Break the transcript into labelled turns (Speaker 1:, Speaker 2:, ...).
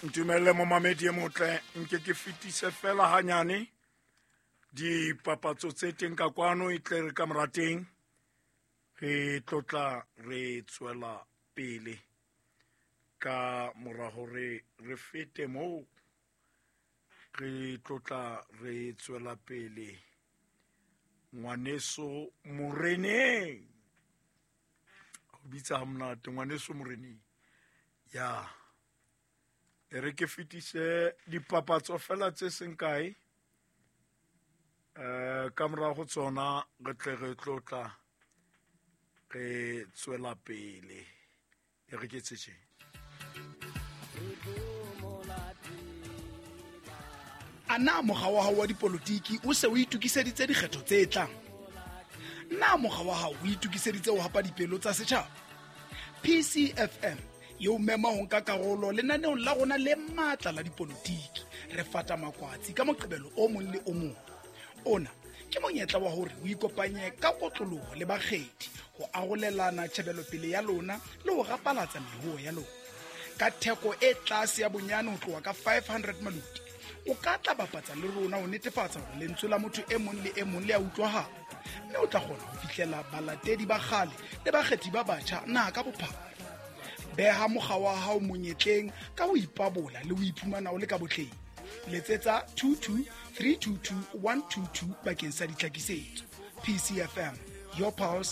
Speaker 1: Ntumelle momamedi e motle, nke ke fetise fela hanyane dipapatso tse teng ka kwano, e tle re ka morateng re tlotla re tswela pele ka mora hore re fete moo, re tlotla re tswela pele. Ngwaneso Moreneng o bitsa ha monate, ngwaneso Moreneng. Ya e re ke fetise dipapatso fela tse seng kae, ka mora go tsona re tle re tlotla re tswela pele. E re ke tse.
Speaker 2: A na mokga wa hao wa dipolotiki o se o itokiseditse dikgetho tse tlang? Na mokga wa hao o itokiseditse ho hapa dipelo tsa setjhaba? PCFM e o mema ho nka karolo lenaneong la rona le matla la dipolotiki. Re fata makwatsi ka Moqebelo o mong le o mong. Ona ke monyetla wa hore o ikopanye ka kotloloho le bakgethi ho arolelana tjhebelopele ya lona le ho rapalatsa mehoo ya lona. Ka theko e tlase ya bonyane ho tloha ka 500 maloti, o ka tla bapatsa le rona ho netefatsa hore lentswe la motho e mong le e mong le a utlwahala, mme o tla kgona ho fihlela balatedi ba kgale le bakgethi ba batjha naha ka bophara. Beha mokga wa hao monyetleng ka ho ipabola le ho iphumana o le ka botleng. Letsetsa 22 322 122 bakeng sa ditlhakisetso. PCFM, your pulse.